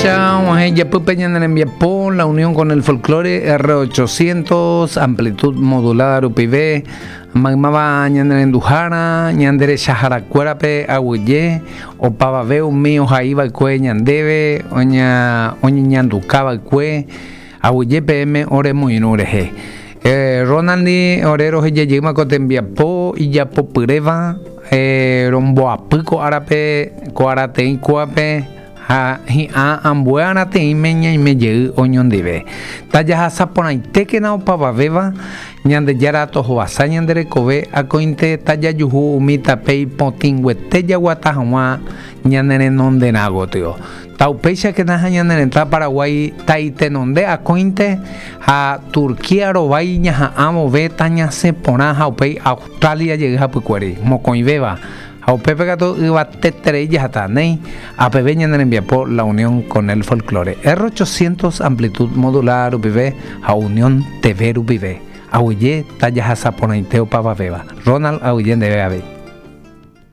Péicha og̃uahẽ ijapýpe ñane rembiapo La Unión con el Folklore R800 amplitud modulada rupive maymáva ñane renduhára, ñande rechaharakuérape aguyje, opavave umi ohaiva'ekue ñandéve, oñeñandukava'ekue aguyje peẽme oremoirũ rehe. Ronald-ndi ore rohejajeýma ko tembiapo ijapopyréva romboapy ko árape, ko arateĩ kóvape ha hi'ã ambue arateĩme ñaime jey oñondive. Tajahasa porãitékena opavavéva, Ñandejára tohovasa ñande rekove akóinte tajajuhu umi tape ipotĩnguete jaguata hag̃ua ñane renonderã gotyo. Taupéichakena ha ñane retã Paraguái ta'itenonde akóinte ha Turquía rovái ñaha'ã vove tañasẽ porã ha upéi Australia jey hapykuéri, mokõivéva, ha upépe katu yvateterei jahata, néi, apeve ñane rembiapo La Unión con el Folklore, R800 amplitud modulada rupive ha Unión TV rupive. Aguyje tajahasa porãite opavavéva. Ronald aguyje ndéve avei.